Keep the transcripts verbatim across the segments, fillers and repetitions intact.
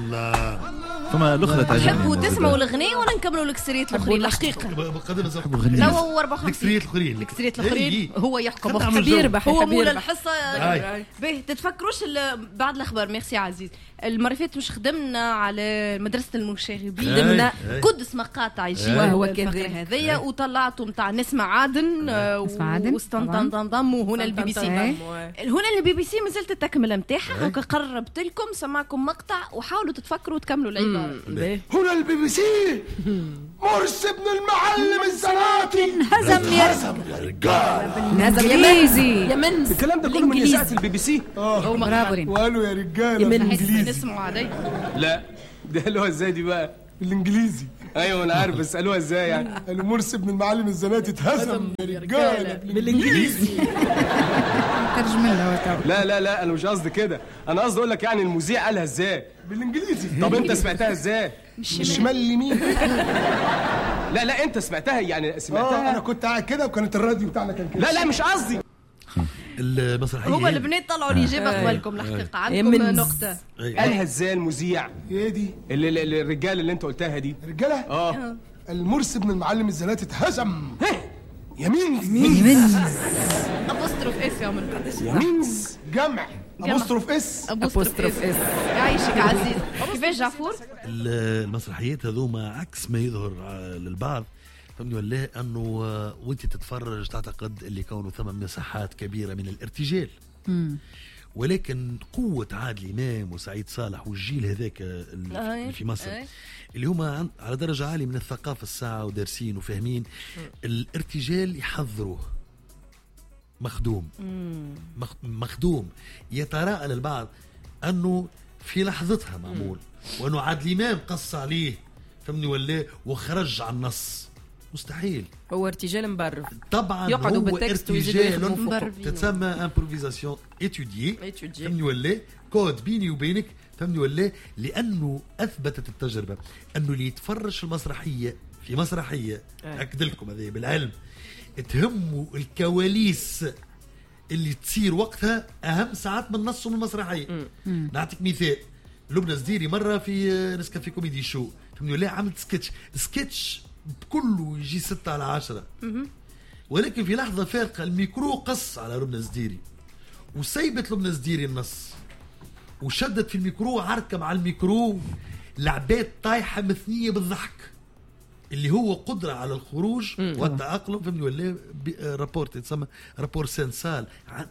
الله. ثم الاخرى تعجبني. تحبوا تسمعوا الاغنية ولا نكملوا الكسريات الاخرين؟ الحقيقة تو أربعة وخمسين الكسريات الاخرين، الكسريات الاخرين هو يحكم، حب يربح، هو مول الحصة. باهي تتفكروش بعد الاخبار. ميرسي عزيز. المرة اللي فاتت مش خدمنا على مدرسه المشاغبين، خدمنا قدس مقاطع يجي وهو كذا هذايا، وطلعتوا نتاع نسمة عادن وستنطنطنطم وهنا البي بي سي. هنا البي بي سي مازالت التكملة نتاعها، هكا قربت لكم سمعكم مقطع وحاولوا تتفكروا وتكملوا العبارة. هنا البي بي سي مرسي بن المعلم الزناتي انهزم يا رجال، انهزم يا منز. الكلام ده كله من اذاعة البي بي سي. اه برافو. وقالوا يا رجاله بالانجليزي. نسمعوا علي. لا ده قالوها ازاي دي بقى؟ بالانجليزي. ايوه انا عارف، بس قالوها ازاي يعني؟ قالوا مرسي بن المعلم الزناتي اتهزم يا رجاله بالانجليزي. ترجم لها. لا لا لا انا مش قصدي كده، انا قصدي اقول لك يعني المذيع قالها ازاي؟ بالانجليزي. طب انت سمعتها ازاي؟ من الشمال لليمين. لا لا انت سمعتها يعني سمعتها. انا كنت قاعد كده وكانت الراديو بتاعنا كان كده. لا لا مش قصدي. المسرحية هما البنات طلعوا الاجابة قبلكم الحقيقة، عندكم نقطة. قالها ازاي المذيع؟ ايه دي؟ اللي الرجالة اللي انت قلتها دي. رجاله؟ اه. المرسي بن المعلم الزناتي اتهزم يمين يمين apostrophe s يا عمر. يمينز جمع apostrophe s apostrophe s. يعيشك عزيز. كيفاش جعفور؟ المسرحيات هذوما عكس ما يظهر للبعض، فهمني ولا؟ انه وانت تتفرج تعتقد اللي كونه ثم مساحات كبيرة من الارتجال، ولكن قوة عادل امام وسعيد صالح والجيل هذاك اللي في مصر اللي هما على درجه عالية من الثقافة الساعة ودارسين وفاهمين الارتجال، يحضروه مخدوم. مخدوم. يتراءى للبعض انه في لحظتها معمول، وانه عادل امام قص عليه، فهمني ولا؟ وخرج عن النص. مستحيل، هو ارتجال مبرر طبعا، يقعدوا بال texte ويزيدوا يخدموا، تتسمى improvisation étudiée، فهمني ولا؟ كود بيني وبينك، فهمني ولا؟ لانه اثبتت التجربة انه اللي يتفرج في المسرحية، في مسرحية اكد لكم هذه بالعلم، تهموا الكواليس اللي تصير وقتها اهم ساعات من النص ومن المسرحية. نعطيك مثال، لبنى زديري مرة في نسكافيه كوميدي شو، فهمني ولا؟ عملت sketch، sketch كله يجي ستة على عشرة، ولكن في لحظة فارقة الميكرو قص على لبنى زديري وسيبت لبنى زديري النص وشدت في الميكرو عركة مع الميكرو، لعبات طايحة مثنية بالضحك، اللي هو قدرة على الخروج والتأقلم، فهمني ولا؟ rapport يتسمى rapport scène-salle،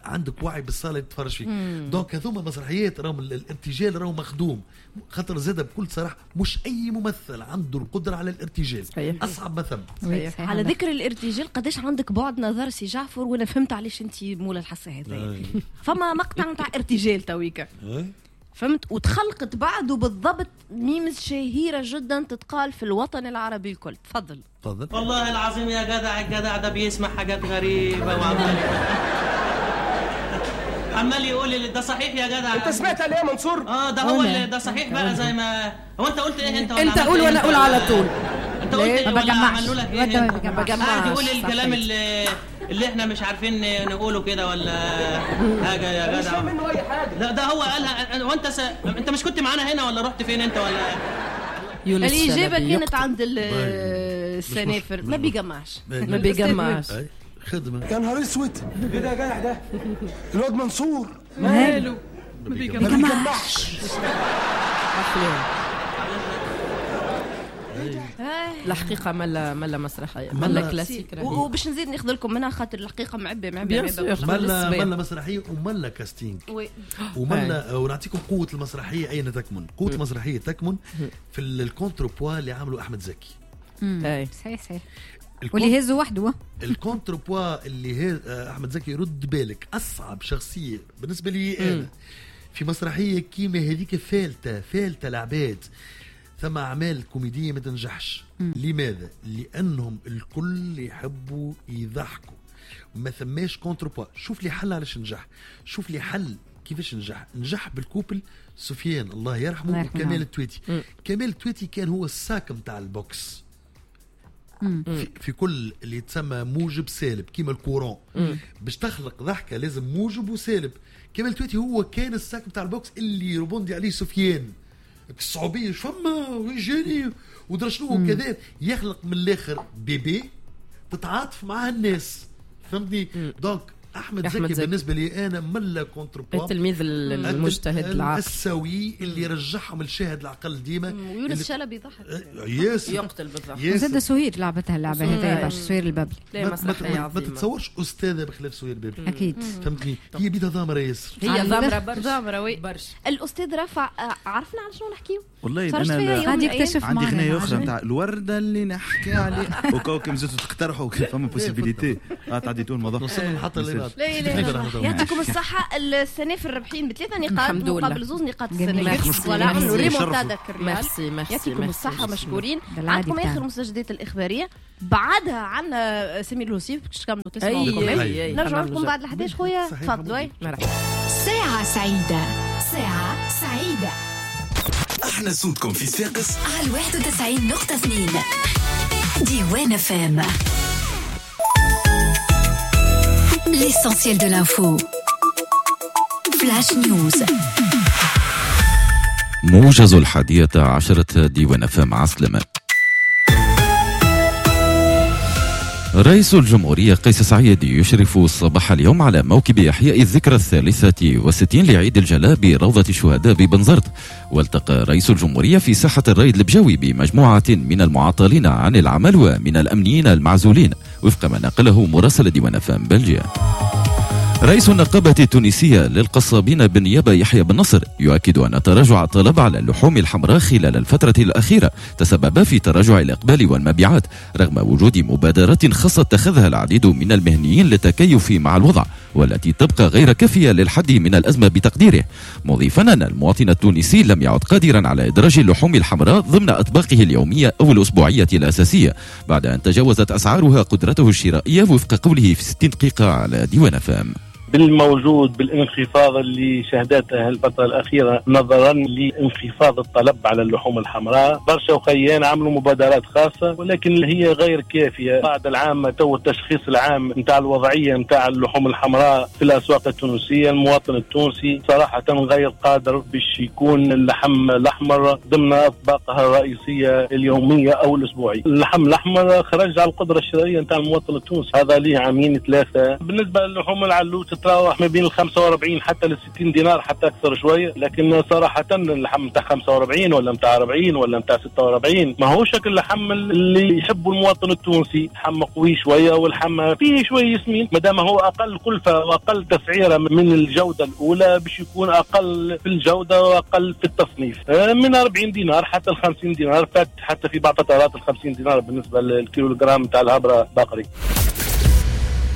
عندك وعي بالصالة اللي تتفرج فيه. donc هذوما المسرحيات راهم الارتجال راهو مخدوم، خاطر زاد بكل صراحة مش أي ممثل عنده القدرة على الارتجال. صحيح. أصعب ما ثم. على ذكر الارتجال، قداش عندك بعد نظر سي جعفر، وأنا فهمت علاش أنت مولا الحصة هذا. فما مقطع نتاع ارتجال تويكا، فهمت، وتخلقت بعده بالضبط memes شهيرة جدا تتقال في الوطن العربي الكل. تفضل تفضل. والله العظيم يا جدع، الجدع ده بيسمع حاجات غريبة وعمال عمال يقول لي ده صحيح يا جدع. انت سمعت عليه يا منصور؟ اه ده هو اللي ده صحيح بقى. زي ما هو انت قلت ايه؟ انت انت قول وانا اقول على طول. انت قلت ايه ولا عملوا لك ايه؟ قاعد يقول الكلام اللي اللي احنا مش عارفين نقوله كده ولا حاجة يا جدع. مش منه اي حاجة. لا ده هو قالها. وانت س... انت مش كنت معانا هنا ولا رحت فين انت ولا؟ الاجابة كانت عند السنافر. ما بيجمعش، ما بيجمعش خدمة. يا نهار اسود، ايه ده يا جدع؟ ده الواد منصور ماله ما بيجمعش. الحقيقة ملا ملا مسرحية، ملا كلاسيك. وباش نزيد ناخذ لكم منها خاطر الحقيقة معبي معبي ملا ملا مسرحية وملا casting وملا. ونعطيكم قوة المسرحية اين تكمن. قوة المسرحية تكمن في ال contrepoids اللي عمله احمد زكي. صحيح صحيح، واللي هزه وحده. ال contrepoids اللي هز احمد زكي، رد بالك، اصعب شخصية بالنسبة لي انا في مسرحية كيما هذيك، فالته فالته العباد. ثم أعمال كوميدية ما تنجحش. مم. لماذا؟ لأنهم الكل يحبوا يضحكوا، ما ثماش contrepoids. شوف لي حل علاش نجح، شوف لي حل كيفاش نجح. نجح بال couple سفيان الله يرحمه وكمال التويتي. مم. كمال التويتي كان هو ال sac متاع ال box. في, في كل اللي يتسمى موجب سالب كيما ال courant، باش تخلق ضحكه لازم موجب وسالب. كمال التويتي هو كان ال sac متاع ال box اللي يربوندي عليه سفيان. الصعوبيه فما ويجاني ودرا شنو كذا، يخلق من الاخر bébé تتعاطف معاه الناس، فهمتني؟ donc احمد, أحمد زكي, زكي بالنسبة لي انا ملا contrepoint، التلميذ المجتهد العاقل السوي اللي رجعهم الشاهد العقل ديما. ويونس شلبي يضحك ياسر، يقتل بالضحك. وزاد سهير لعبتها اللعبة هذه برشا، سهير البابلي. لا مسرحية عظيمة، ما تتصورش استاذه بخلاف سهير البابلي اكيد، فهمتني؟ هي بيدها ضامره ياسر، هي ضامره برشا، ضامره oui برشا. الاستاذ رفع، عرفنا على شنو نحكيو؟ والله انا غادي يكتشف عندي غنايه اخرى نتاع الورده اللي نحكي عليه وكوكب زدتوا تقترحوا فما possibilité تعديتوا الموضوع. وصلنا المحطة اللي بعد. لا لا يعطيكم الصحة. السنة في الربحين بثلاثة نقاط مقابل زوز نقاط السنة. voilà عملوا ريمونتادا كريال. merci merci، يعطيكم الصحة مشكورين. عندكم اخر المستجدات الاخبارية، بعدها عندنا سمير الوصيف باش تكملوا تسمعوا. نرجع لكم بعد الحداش خويا، تفضلوا. ساعة سعيدة، ساعة سعيدة. احنا صوتكم في صفاقس على واحد وتسعين نقطة اثنين ديوان اف ام. L'essentiel de l'info. Flash News. موجز الحادية عشرة ديوان اف ام، عسلامة. رئيس الجمهورية قيس سعيد يشرف صباح اليوم على موكب إحياء الذكرى الثالثة والستين لعيد الجلاء بروضة الشهداء ببنزرت. والتقى رئيس الجمهورية في ساحة الريد البجاوي بمجموعة من المعطلين عن العمل ومن الأمنيين المعزولين، وفق ما نقله مراسل ديوان أفام بلجيا. رئيس النقابة التونسية للقصابين بالنيابة يحيى بن نصر يؤكد أن تراجع الطلب على اللحوم الحمراء خلال الفترة الأخيرة تسبب في تراجع الإقبال والمبيعات، رغم وجود مبادرات خاصة اتخذها العديد من المهنيين للتكيف مع الوضع، والتي تبقى غير كافية للحد من الأزمة بتقديره، مضيفا أن المواطن التونسي لم يعد قادرا على إدراج اللحوم الحمراء ضمن أطباقه اليومية أو الأسبوعية الأساسية بعد أن تجاوزت أسعارها قدرته الشرائية، وفق قوله في ستين دقيقة على ديوان فام. بالموجود بالانخفاض اللي شهدته الفترة الأخيرة نظرا لانخفاض الطلب على اللحوم الحمراء، برشا وخيان عملوا مبادرات خاصة ولكن هي غير كافية. بعد العام تو التشخيص العام نتاع الوضعية نتاع اللحوم الحمراء في الأسواق التونسية، المواطن التونسي صراحة غير قادر باش يكون اللحم الأحمر ضمن أطباقها الرئيسية اليومية أو الأسبوعية. اللحم الأحمر خرج على القدرة الشرائية نتاع المواطن التونسي، هذا ليه عامين ثلاثة. بالنسبة للحوم العلوت تتراوح ما بين ال خمسة وأربعين حتى لل ستين دينار حتى أكثر شوية، لكن صراحة اللحم نتاع خمسة وأربعين ولا نتاع أربعين ولا نتاع ستة وأربعين ما هو شكل اللحم اللي يحبه المواطن التونسي. لحم قوي شوية واللحم فيه شوية سمين، ما دام هو أقل كلفة وأقل تسعيرة من الجودة الأولى باش يكون أقل في الجودة وأقل في التصنيف، من أربعين دينار حتى ال خمسين دينار، فات حتى في بعض فترات ال خمسين دينار بالنسبة للكيلوغرام نتاع الهبرة بقري.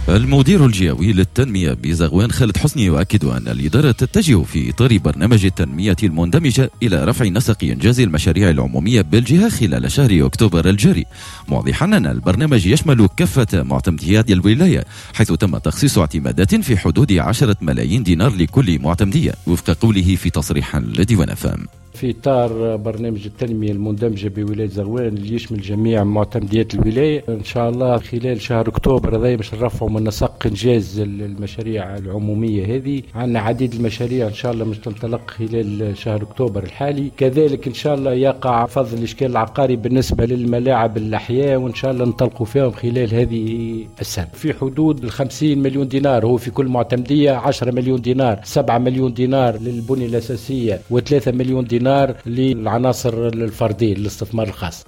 المدير الجهوي للتنمية بزغوان خالد حسني يؤكد أن الإدارة تتجه في إطار برنامج التنمية المندمجة إلى رفع نسق إنجاز المشاريع العمومية بالجهة خلال شهر أكتوبر الجاري، موضحا أن البرنامج يشمل كافة معتمديات الولاية، حيث تم تخصيص اعتمادات في حدود عشرة ملايين دينار لكل معتمدية، وفق قوله في تصريح لديوان فام. في إطار برنامج التنمية المندمجة بولاية زغوان اللي يشمل جميع معتمديات الولاية، إن شاء الله خلال شهر أكتوبر هذا باش نرفعوا من نسق إنجاز المشاريع العمومية هذه. عندنا عديد المشاريع إن شاء الله مش تنطلق خلال شهر أكتوبر الحالي. كذلك إن شاء الله يقع فضل الإشكال العقاري بالنسبة للملاعب الأحياء، وإن شاء الله ننطلقوا فيهم خلال هذه السنة في حدود الخمسين مليون دينار، هو في كل معتمدية عشرة مليون دينار، سبعة مليون دينار للبنية الأساسية وثلاثة مليون دينار للعناصر الفردية للاستثمار الخاص.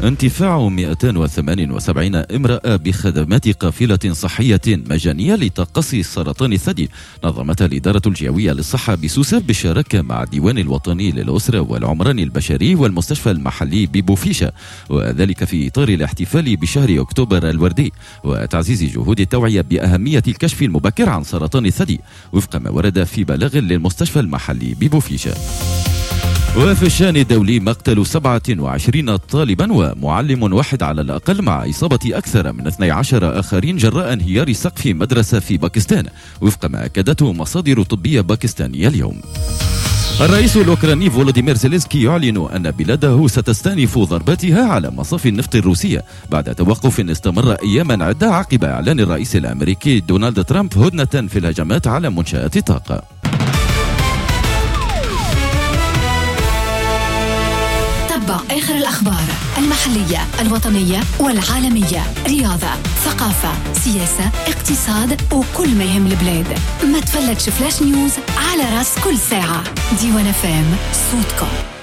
انتفاع مئتين وثمانية وسبعين امرأة بخدمات قافلة صحية مجانية لتقصي سرطان الثدي نظمتها الإدارة الجهوية للصحة بسوسة بالشراكة مع الديوان الوطني للأسرة والعمران البشري والمستشفى المحلي ببوفيشة، وذلك في إطار الاحتفال بشهر أكتوبر الوردي وتعزيز جهود التوعية بأهمية الكشف المبكر عن سرطان الثدي، وفق ما ورد في بلاغ للمستشفى المحلي ببوفيشة. وفي الشأن الدولي مقتل سبعة وعشرين طالبا ومعلم واحد على الأقل مع إصابة أكثر من اثني عشر آخرين جراء انهيار سقف مدرسة في باكستان، وفق ما أكدته مصادر طبية باكستانية اليوم. الرئيس الأوكراني فولوديمير زيلينسكي يعلن أن بلاده ستستأنف ضرباتها على مصافي النفط الروسية بعد توقف استمر أياما عدة عقب إعلان الرئيس الأمريكي دونالد ترامب هدنة في الهجمات على منشآت الطاقة. آخر الأخبار المحلية، الوطنية والعالمية، رياضة، ثقافة، سياسة، اقتصاد، وكل ما يهم البلاد. ما تفلتش Flash News على راس كل ساعة. ديوان اف ام، صوتكم.